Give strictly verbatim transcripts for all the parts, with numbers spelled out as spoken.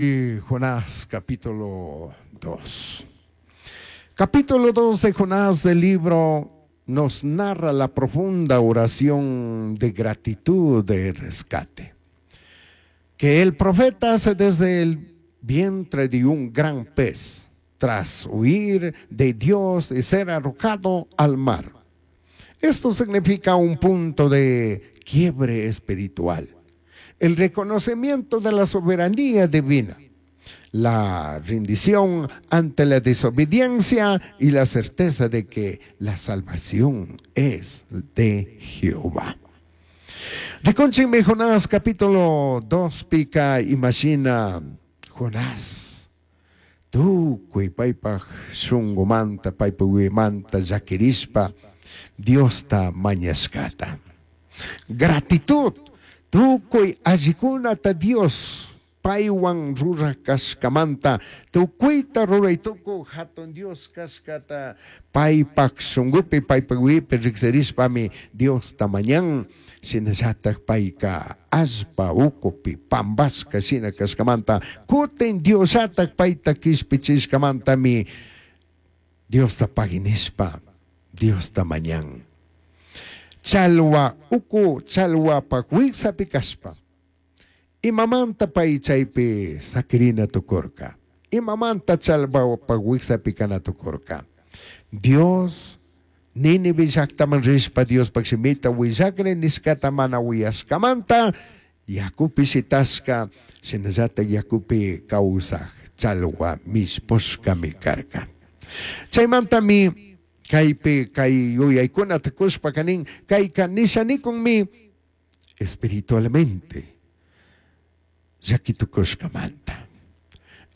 Jonás capítulo dos. Capítulo dos de Jonás del libro nos narra la profunda oración de gratitud de rescate que el profeta hace desde el vientre de un gran pez tras huir de Dios y ser arrojado al mar. Esto significa un punto de quiebre espiritual, el reconocimiento de la soberanía divina, la rendición ante la desobediencia y la certeza de que la salvación es de Jehová. Rikunchikmi Jonás capítulo dos pica imagina Jonás tukuy paypaj shunkumanta paypaj manta llakirishpa Diosta mañashkata. Gratitud tukuy allikunata Dios paywan ruraj kashkamanta tukuyta ruray tukuy hatun Dios kashkata paypaj shunkupi paypaj wipi riksirishpami Diosta mañan shinallatak payka allpa ukupi pambashka shina kashkamanta kutin Diosllatak payta kishpichishkamantami Diosta paginishpa Diosta mañan. Chalwa uku chalwapaj wiksapi kashpa imamanta pay chaypi sakirina tukurka, imamanta chalwapaj wiksapi kana tukurka. Dios Nínive llaktaman rishpa Diospaj shimita willakri nishkata mana uyashkamanta yakupi shitashka shinallatak yakupi kawsaj chalwa mishpushkami karka. Chaymantami kaypi kay yuyaykunata kushpa kanin kayka nishanikunmi espiritualmente llakitukushkamanta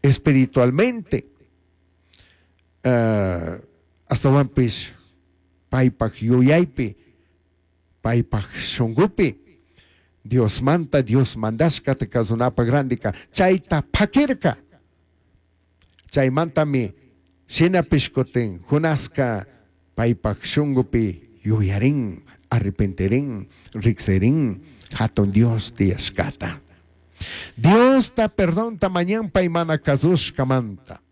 espiritualmente uh, astawanpish paypaj yuyaypi paypaj shunkupi Diosmanta Dios mandashkata kasunapaj randika chayta pakirka. Chaymantami shinapish kutin Jonaska paypaj shunkupi yuyarin arrepentirin riksirin hatun Dios tiyashkata. Diosta perdonta mañan pay mana kasushkamanta.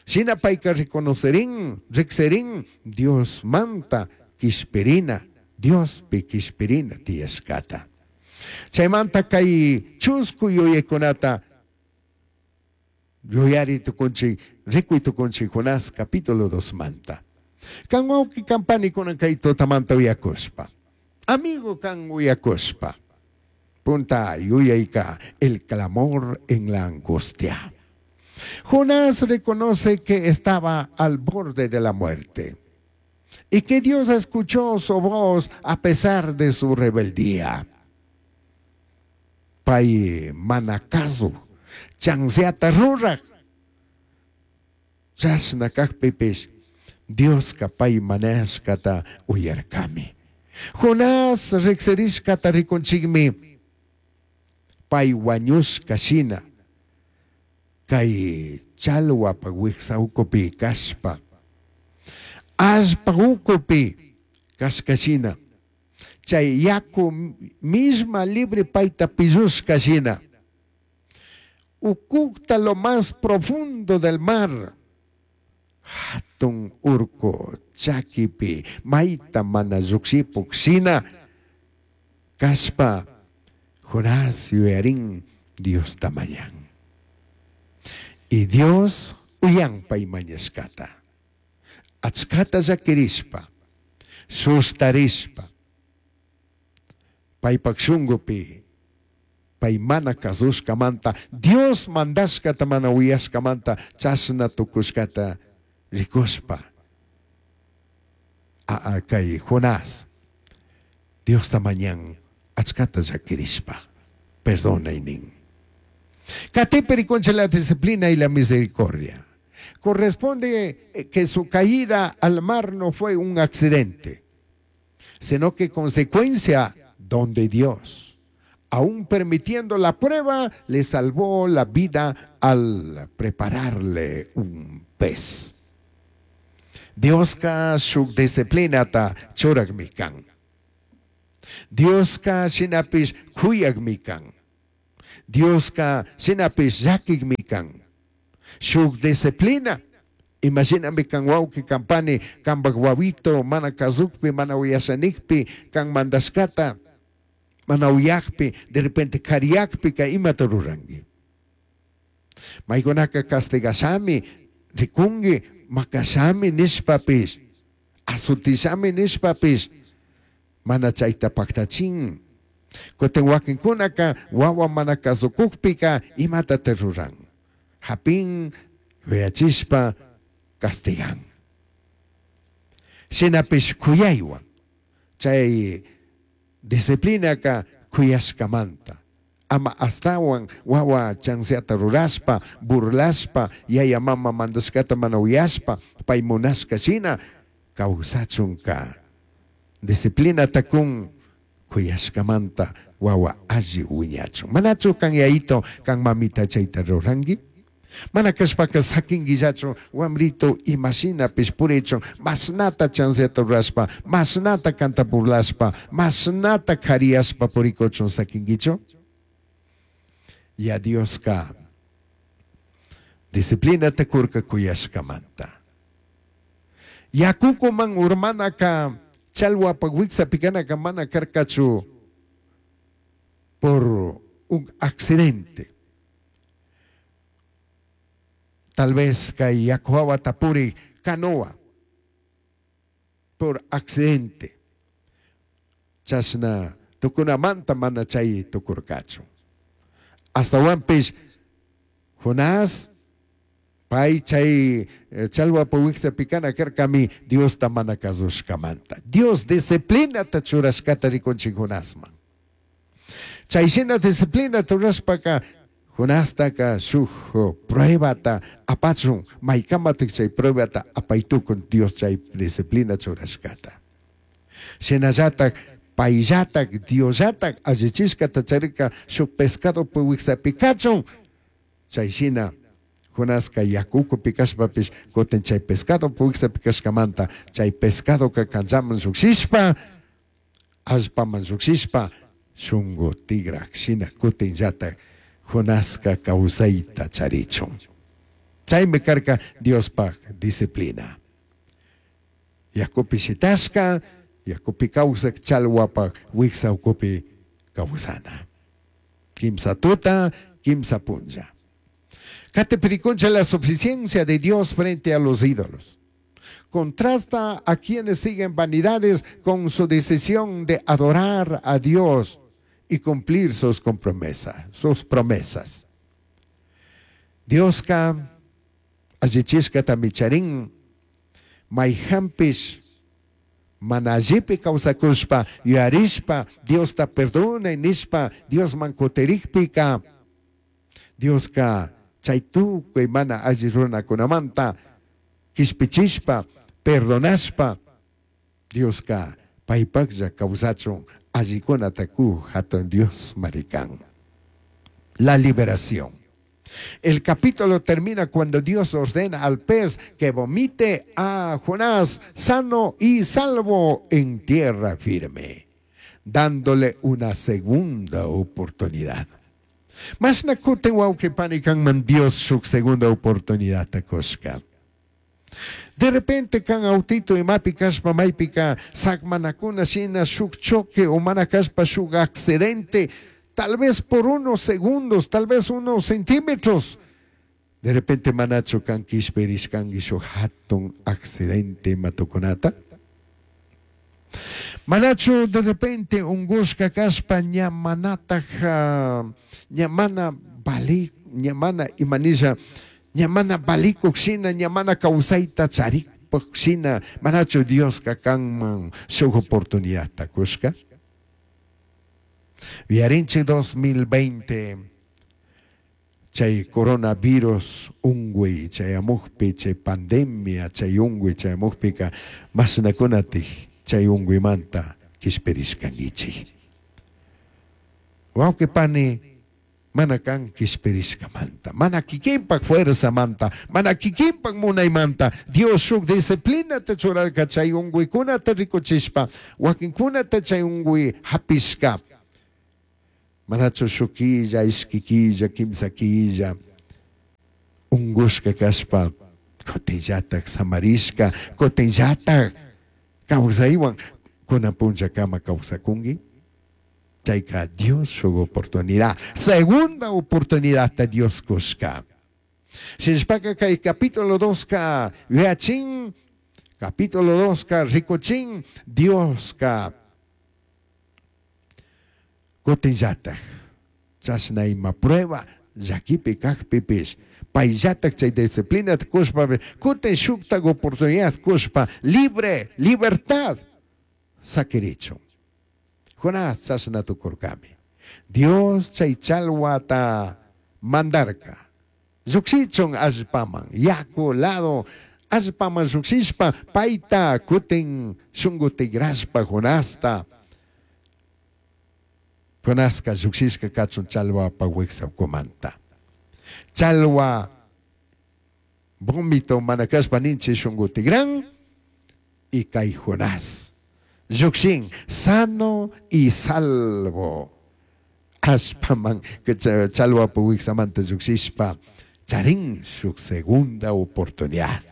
Shina payka reconocerin, riksirin Dios manta kishpirina, Diospi kishpirina tiyashkata. Chaymanta kay chusku yuyaykunata yuyari tukunchik, rikuy tukunchik Jonás capítulo dos manta. Kan wawqi kampani kunan kay tutamanta uyakushpa. Amigo kan uyakushpa. Punta yuyayka el clamor en la angustia. Jonás reconoce que estaba al borde de la muerte y que Dios escuchó su voz a pesar de su rebeldía. Pay manakazu, chanseata ruraj, chashna kajpipish Dioska pay manashkata uyarkami. Jonás riksirishkata rikunchikmi pay wañushka shina kay chalwapa wiksa ukupi kashpa allpa ukupi kashka shina chay yaku misma libre payta pillushka shina ukukta lo más profundo del mar hatun urku chakipi mayta mana llukshipuk shina kashpa Jonás yuyarin Diosta mañan. Y Dios uyan pay mañashkata. Achkata llakirishpa, sustarishpa, paypak shunkupi, pay mana kasushkamanta, Dios mandashkata mana uyashkamanta, chashna tukushkata rikushpa. A, a, kay Jonás, Diosta mañan achkata llakirishpa, perdonaynin. Katipi rikunchik la disciplina y la misericordia. Corresponde que su caída al mar no fue un accidente, sino que consecuencia donde Dios, aún permitiendo la prueba, le salvó la vida al prepararle un pez. Dioska shuk disciplinata churakmi kan. Dioska shinapish kuyakmi kan. Dioska shinapish llakikmi kan. Shuk disciplina. Imashinami kan wawqi kan pani kanpak wawito mana kasukpi mana uyashanikpi kan mandashkata mana uyakpi de repente kariyakpika imata ruranki. Maykunaka castigashami rikunki makashami nishpapish azutishami nishpapish mana chayta paktachin. Kutin wakinkunaka wawa mana kasukukpika imatata ruran. Hapin yuyachishpa castigan. Shinapish kuyaywan chay disciplinaka kuyashkamanta. Ama astawan wawa chanceata rurashpa, burlashpa, yaya mama mandashkata mana uyashpa, pay munashka shina kawsachunka. Disciplinata kun kuyashkamanta wawa alli wiñachun. Manachu kan yayito kan mamita chayta ruranki? Mana kashpaka sakinkillachu wamrito imashinapish purichun mashnata chanceata rurashpa, mashnata kanta burlashpa, mashnata kariyashpa purikuchun sakinkichu? Ya Dioska disciplinata kurka kuyashkamanta. Yakukuman urmanaka chalwapa wiksapikanaka mana karkachu por un accidente. Tal vez kay yaku tapuri canoa por accidente. Chashna tukunamanta mana chay tukurkachu. Hasta wanpish Jonás pay chay chalwapa wiksapikanaka karkami Diosta mana kasushkamanta. Dios disciplinata churashkata rikunchik Jonasman. Chay shina disciplinata rurashpaka Jonastaka shuk pruebata apachun maykamatik chay pruebata apaytukun Dios chay disciplina churashkata. Shinallatak payllatak Diosllatak allichishkata charika shuk pescado wiksapi kachun chay shina Jonaska yakukupi kashpapish kutin chay pescado wiksapi kashkamanta chay pescadoka kanchaman llukshishpa allpaman llukshishpa shunku tigrak shina kutinllatak Jonaska kawsayta charichun. Chaymi karka Diospaj disciplina. Yakupi shitashka, yakupi kawsak chalwapaj wiksa ukupi kawsana. Kimsa tuta, kimsa punlla. Catepiriconcha la suficiencia de Dios frente a los ídolos. Contrasta a quienes siguen vanidades con su decisión de adorar a Dios y cumplir sus promesas, sus promesas. Dioska allichishkata micharin mayhanpish mana allipi kawsakushpa yuyarishpa Diosta perdonay nishpa Diosman kutirikpika Dioska chay tukuy mana alli runakunamanta kishpichishpa perdonashpa Dioska paypaklla kawsachun allikunata ku hatun Dios marikan. La liberación. El capítulo termina cuando Dios ordena al pez que vomite a Jonás sano y salvo en tierra firme, dándole una segunda oportunidad. Mashna kutin wawqi pani kanman Dios shuk segunda oportunidad kushka. De repente kan autito imapi kashpa maypika sakmanakuna shina shuk choque o mana kashpa shuk accidente, tal vez por unos segundos, tal vez unos centímetros. De repente manachu kan kishpirishkanki shuk hatun accidente matukunata. Manachu de repente ungushka kashpa ña manataj ña mana bali ña mana imanisha ña mana balikuk shina ña mana kawsayta charikpak shina manachu Dioska kanman shuk oportunidadta kushka. Viarinchik dos mil veinte chay coronavirus unguy chayamukpi chay pandemia chay unguy chayamukpika mashnakunatik chay unguymanta kishpirishkankichik. Wawqi pani mana kan kishpirishkamanta, mana kikinpak fuerzamanta, mana kikinpak munaymanta. Dios shuk disciplinata churarka chay unguykunata rikuchishpa, wakinkunata chay unguy hapishka. Manachu shuk killa, ishki killa, kimsa killa, ungushka kashpa, kutinllatak samarishka, kutinllatak kawsaywan kunan punllakama kawsakunki. Chayka Dios shuk oportunidad, segunda oportunidad ta Dios kushka. Shinashpaka kay capítulo dos ka yuyachin, capítulo dos ka rikuchin, Dios ka kutinllatak chashna ima prueba llakipi kakpipish payllatak chay disciplina kushpa kutin shuktak oportunidad kushpa libre, libertad sakirichun. Jonás chashna tukurkami. Dios chay chalwata mandarka. Llukshichun allpaman, yaku lado allpaman llukshishpa payta kutin shunku tigrashpa Jonasta. Jonaska llukshishka kachun chalwapa wiksa ukumanta. Chalwa vómito mana kashpa ninchi shunku tigran y kay Jonás llukshin sano y salvo. Allpaman chalwapa wiksamanta llukshishpa charin shuk segunda oportunidad.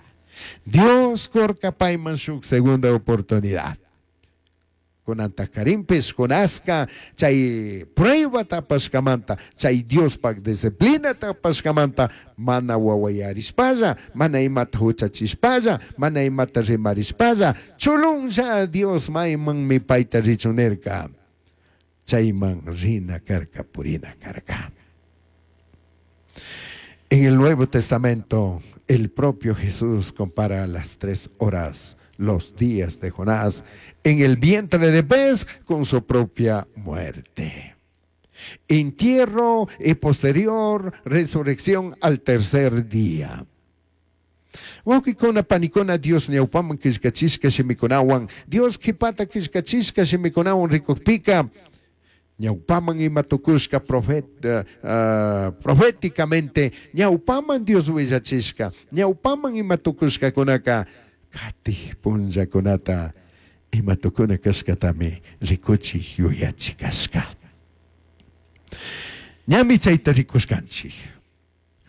Dios kurka payman shuk segunda oportunidad. Kunanta karimpis Jonaska chay prueba tapashkamanta, chay Diospak disciplina tapashkamanta, mana wawayarishpalla, mana imata huchachishpalla, mana imata rimarishpalla, chulunlla Dios maymanmi payta richun nirka. Chayman rina karka, purina karka. En el Nuevo Testamento, el propio Jesús compara las tres horas, los días de Jonás en el vientre de pez con su propia muerte. Entierro y posterior resurrección al tercer día. Wawqikuna panikuna Dios ñawpaman killkachishka shimikunawan, Dios qhipata killkachishka shimikunawan rikukpika, ñawpaman ima tukushka profeta, uh, proféticamente, ñawpaman Dios willachishka, ñawpaman ima tukushkakunaka, katij punllakunata ima tukuna kashkatami rikuchik yuyachik kashka. Ñami chayta rikushkanchik.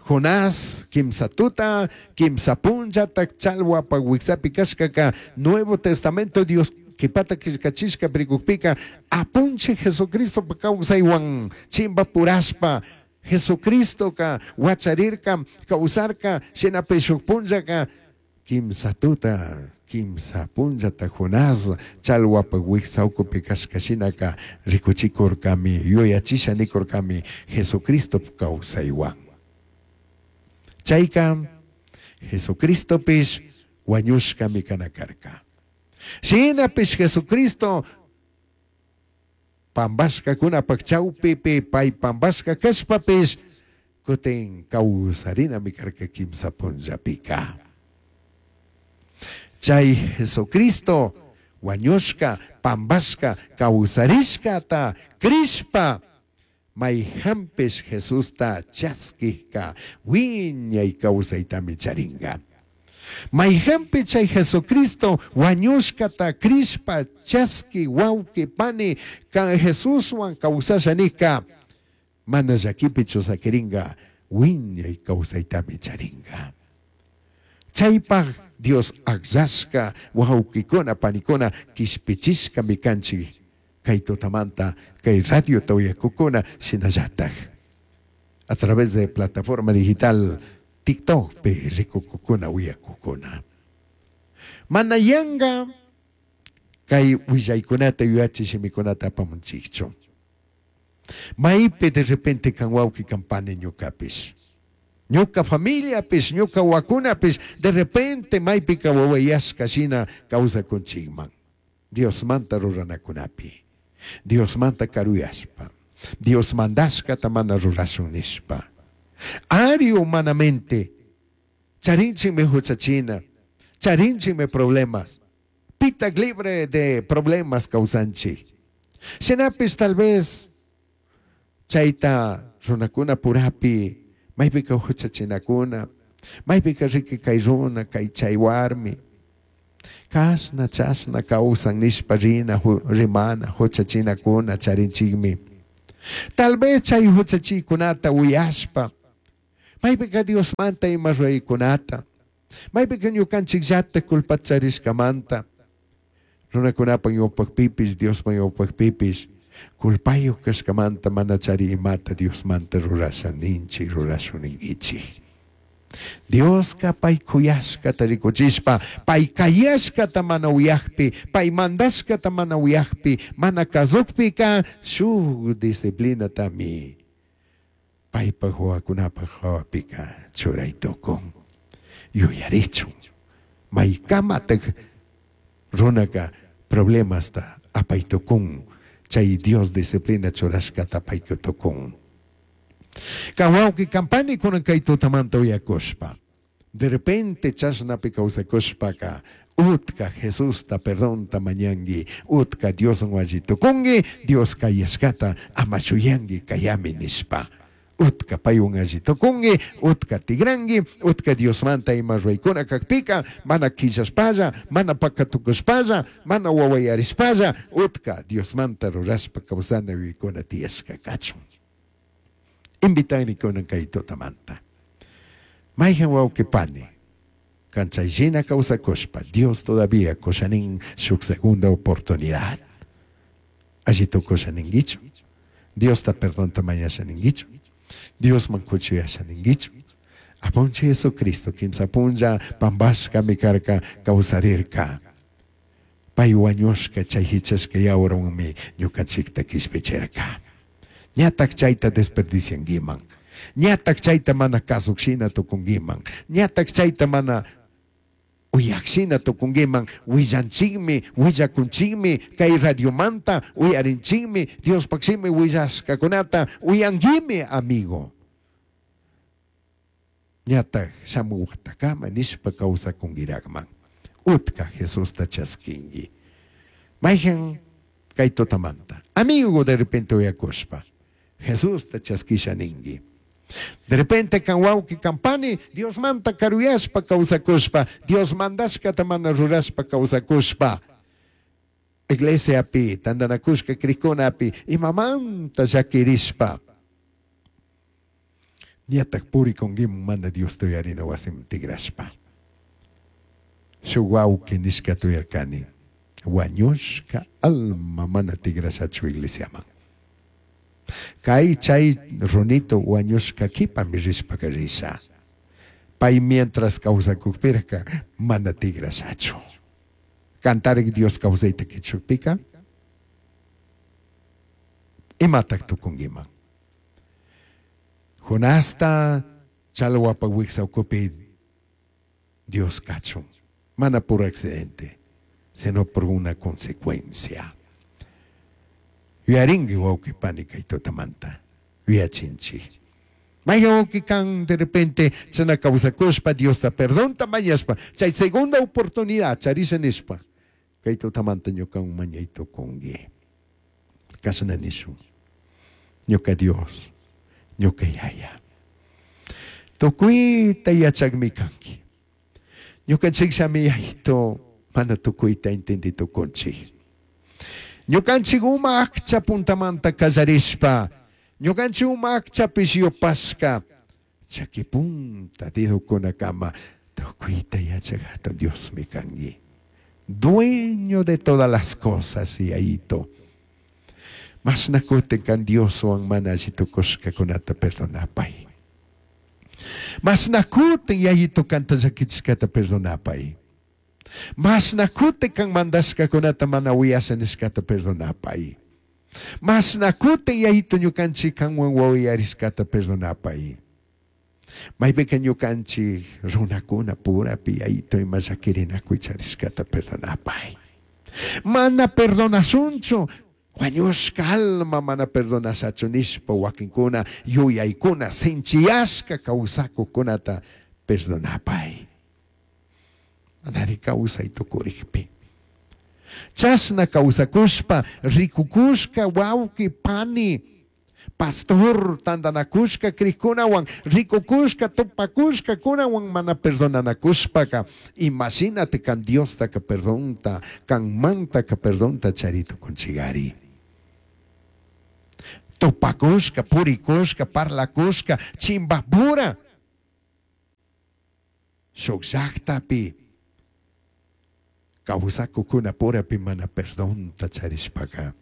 Jonás, kimsa tuta, kimsa punllata, chalwapa wiksapi kashkaka, Nuevo Testamento Dios qhipata killkachishka rikukpika, apunchik Jesucristo kawsaywan chimba purashpa, Jesucristo ka wacharirka, kawsarka, shinapi shuk punllaka, kimsa tuta, kimsa punllata Jonás chalwapa wiksa ukupi kashka shinaka rikuchikurkami, yuyachisha nikurkami Jesucristo kawsaywan. Chayka Jesucristopish wañushkami kana karka. Shinapish Jesucristo pambashkakunapak chawpipi pay pambashka kashpapish kutin kawsarinami karka kimsa punllapika. Chay Jesucristo wañushka, pambashka, kawsarishkata krishpa mayhanpish Jesusta chaskijka wiñay kawsaytami charinga. Mayhanpi chay Jesucristo wañushkata krishpa chaski wawqi pani kan Jesuswan kawsasha nika mana llakipichu sakiringa wiñay kawsaytami charinga. Chaypaq Dios akllashka wawqikuna panikuna kishpichishkami kanchik kay tutamanta kay radio uyakukuna shinallatak a través de plataforma digital TikTok pi rikukukuna uyakukuna. Mana yanga kay willaykunata yuyachi shimikunata apamunchikchu. Maypi de repente kan wawqi kan pani ñukapish, ñuka familiapish, ñuka wakunapish, de repente maypika wawayashka shina kawsakunchikman. Diosmanta ruranakunapi, Diosmanta karuyashpa, Dios mandashkata mana rurashun nishpa. Ari humanamente, charinchikmi huchachina, charinchikmi problemas, pitak libre de problemas kawsanchik. Shinapish tal vez chayta runakuna purapi, maypika huchachinakuna, maypika riki kay runa, kay chay warmi, kashna chashna kawsan nishpa rina, rimana, huchachinakuna charinchikmi. Tal vez chay huchachikunata uyashpa, maypiqa Diosmanta ima ruraykunata, maypiqa ñukanchikllata culpacharishkamanta, runakunapa ñawpaqpipis, Diospa ñawpaqpipis, culpayuq kashkamanta mana chari imata Diosmanta rurasha ninchik, rurashun ninkichik. Dioska pay kuyashkata rikuchishpa, pay kayashkata mana uyakpi, pay mandashkata mana uyakpi, mana kasukpika shuk disciplinatami paypaj wawakunapaj hawapika churay tukun. Yuyarichun. Maykamatak runaka problemasta apay tukun, chay Dios disciplina churashkata apay tukun. Kan wawqi kampani kunan kay tutamanta uyakushpa, de repente chashnapi kawsakushpaka utka Jesusta perdonta mañanki, utka Dioswan alli tukunki, Dios kayashkata ama shuyanki kayami nishpa. Utka paywan alli tukunki, utka tigranki, utka Diosmanta ima ruraykuna kakpika, mana quillashpalla, mana pakatukushpalla, mana wawayarishpalla, utka Diosmanta rurashpa kawsana yuyaykuna tiyashka kachun. Invitani kunan kay tutamanta. Mayhan wawqi pani, kan chayshina kawsakushpa, Dios todavía kushanin shuk segunda oportunidad. Alli tukusha ninkichu. Diosta perdonta mañasha ninkichu. Diosman kuchuyasha ninkichu. Apunchik Jesucristo kimsa punlla pampashkami karka kawsarirka. Pay wañushka chay hichashka yawarwanmi ñukanchikta kishpichirka. Ñatak chayta desperdiciankiman. Ñatak chayta mana kasukshina tukunkiman. Ñatak chayta mana uyakshina tukunkiman. Willanchikmi, willakunchikmi, kay radiomanta uyarinchikmi, Diospaq shimi willashkakunata uyankimi, amigo. Ñatak shamuwaqtakama nishpa kawsakunkirakman. Utka Jesusta chaskinki. Mayhan kay tutamanta. Amigo de repente uyakushpa, Jesusta chaskisha ninki. De repente kan wawqi kan pani, Dios manta karuyashpa kawsakushpa, Dios mandashkata mana rurashpa kawsakushpa, iglesiapi, tantanakushka krikunapi, imamanta llakirishpa, ñatak purikunkiman mana Diosta uyarina wasiman tigrashpa. Shuk wawqi nishkata uyarkani, wañushka alma mana tigrashachu iglesiaman. Kay chay runito wañushka kipami rishpaka risha. Pay mientras kawsakukpirka mana tigrashachu. Kantarik Dios kawsayta kichukpika, imatak tukunkiman. Jonasta chalwapa wiksa ukupi Dios kachun. Mana por accidente, sino por una consecuencia. Yuyarinki wawqi pani kay tutamanta, yuyachinchik. Mayhan wawqi kan de repente chana kawsakushpa Diosta perdonta mañashpa, chay segunda oportunidad charisha nishpa, kay tutamanta ñukawan mañay tukunki. Kashna nishun, ñuka Dios, ñuka Yaya. Tukuyta yachakmi kanki. Ñukanchikllami yayto mana tukuyta entendi tukunchik. Ñukanchik uma akcha puntamanta kallarishpa, ñukanchik uma akchapish yupashka, chaki punta dedokunakama, tukuyta yachak hatun Diosmi kanki. Dueño de todas las cosas, yayito. Mashna kutin kan Dioswan mana alli tukushkakunata perdonapay. Mashna kutin yayito kanta llakichishkata perdonapay. Mashna kutin kan mandashkakunata mana uyasha nishkata perdonapay. Mashna kutin yayito ñukanchik kanwan wawayarishkata perdonapay. Maypika ñukanchik runakuna purapi yayito ima llakirinakuy charishkata perdonapay. Mana perdonasunchu, wañushka alma mana perdonashachu nishpa wakinkuna yuyaykuna sinchiyashka kawsakukunata perdonapay. Manari kawsay tukurikpi. Chashna kawsakushpa rikukushka wawqi pani pastor tantanakushka krikunawan rikukushka tupakushka kunawan mana perdonanakushpaka imagínate kan Diostaka perdonta kan mantaka perdonta charito kunchigari. Tupakushka, purikushka, parlakushka, chimbapura. Shuk llaktapi kawsakukuna purapi mana perdonta charishpaka.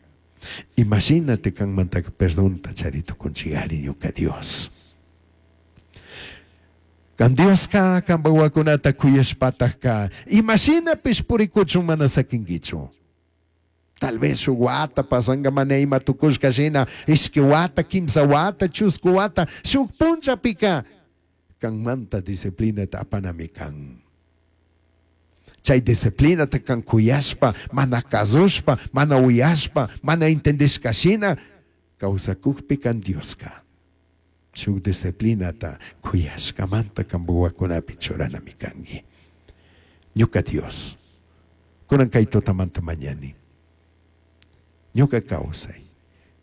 Imagínate kanmantaka perdonta charitukunchigari ñuka Dios. Kan Dioska kanpa wawakunata kuyashpataka imashinapish purikuchun mana sakinkichu. Tal vez shuk wata pasanga mana ima tukushka shina, ishki wata, kimsa wata, chusku wata, shuk punchapika kanmanta disciplinata apanami kan. Chay disciplinata kan kuyashpa, mana kazushpa, mana uyashpa, mana entendishka shina, kawsakukpi kan Dioska. Shuk disciplinata kuyashkamanta kanpa wawakunapi churanami kanki. Ñuka Dios, kunan kay tutamanta mañani. Ñuka kawsay,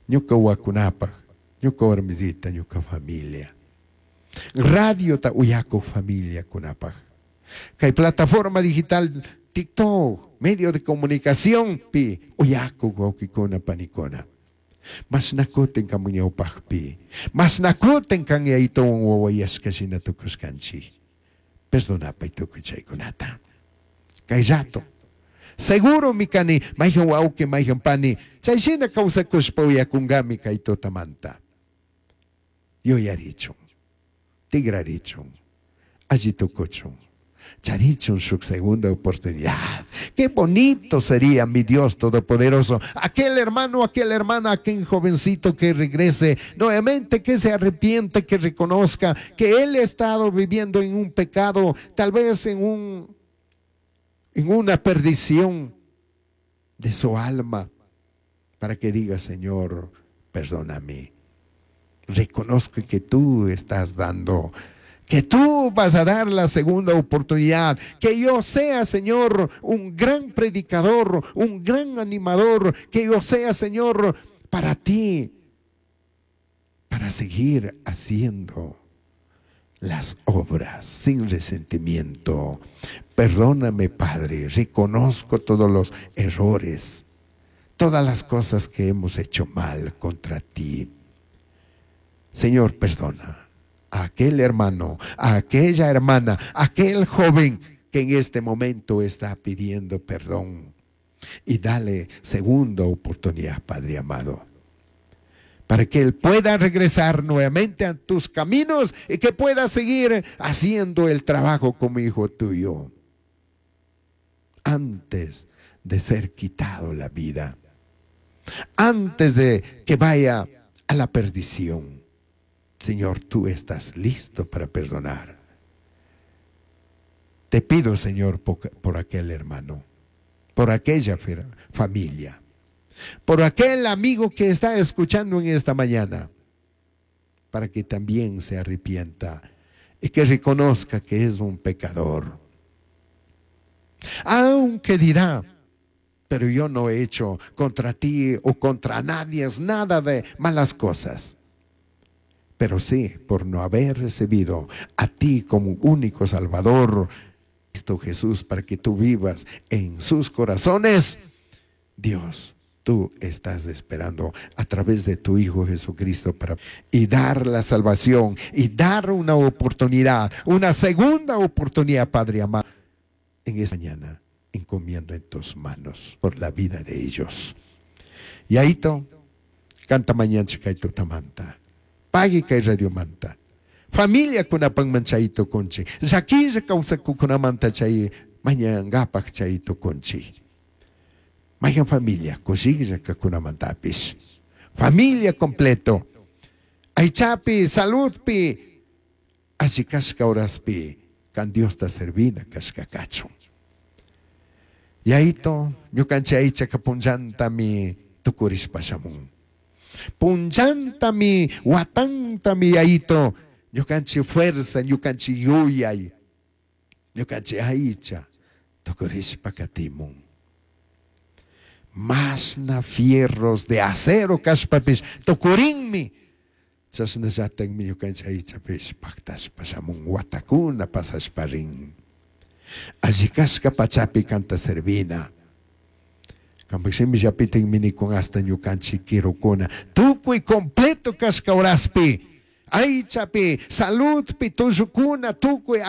ñuka wawakunapaj, ñuka warmisita, ñuka familia. Radiota uyakuk familia kunapaj. Kay plataforma digital TikTok, medio de comunicación pi uyakuk wawkikuna panikuna. Mashnakutin kanpak ñawpajpi, mashnakutin kan yayituwan wawayashka shina tukushkanchik. Perdonapay tukuy chaykunata. Kay rato, seguro mi kani, mayhan wawki, mayhan pani, chay shina kawsakushpa uyakunkami kay tutamanta. Yuyarichun, tigrarichun, alli tukuchun, charichun shuk segunda oportunidad. Qué bonito sería, mi Dios Todopoderoso, aquel hermano, aquella hermana, aquel jovencito que regrese nuevamente, que se arrepiente, que reconozca que él ha estado viviendo en un pecado, tal vez en un, en una perdición de su alma, para que diga, Señor, perdóname. Reconozco que tú estás dando, que tú vas a dar la segunda oportunidad, que yo sea, Señor, un gran predicador, un gran animador, que yo sea, Señor, para ti, para seguir haciendo las obras sin resentimiento. Perdóname, Padre, reconozco todos los errores, todas las cosas que hemos hecho mal contra ti. Señor, perdona a aquel hermano, a aquella hermana, a aquel joven que en este momento está pidiendo perdón. Y dale segunda oportunidad, Padre amado, para que él pueda regresar nuevamente a tus caminos y que pueda seguir haciendo el trabajo como hijo tuyo antes de ser quitado la vida, antes de que vaya a la perdición. Señor, tú estás listo para perdonar. Te pido, Señor, por, por aquel hermano, por aquella familia, por aquel amigo que está escuchando en esta mañana, para que también se arrepienta y que reconozca que es un pecador. Aunque dirá, pero yo no he hecho contra ti o contra nadie nada de malas cosas. Pero sí, por no haber recibido a ti como único Salvador, Cristo Jesús, para que tú vivas en sus corazones, Dios, tú estás esperando a través de tu Hijo Jesucristo para y dar la salvación y dar una oportunidad, una segunda oportunidad, Padre amado, en esta mañana encomiendo en tus manos por la vida de ellos. Y ahí to, canta mañana chicaito tamanta. Pagui kay radio manta. Familia kunapang chay tukunchi. Llaquilla kawsakukunamanta chay mañangapak chay tukunchi. Mayan familia, kushilla kakunamantapis. Familia completo. Aychapi, saludpi, alli kashka horaspi, kan Diosta servina kashka kachun. Yaito, ñukanchik aychaka punllantami tukurishpa shamun. Punllantami, watantami yaito, ñukanchik fuerza, ñukanchik yuyay, ñukanchik aycha, tukurishpa katimun. Masna fierros de acero kashpapish tukurinmi. Chashnallatakmi ñukanchik aychapish paktashpa shamun watakuna pasashpa rin. Alli kashka pachapi kanta servina. Cambaj shimillapitajmi nikun hasta ñukanchik quirucuna tukuy completo kashka horaspi, aychapi, saludpi, tullukuna tukuy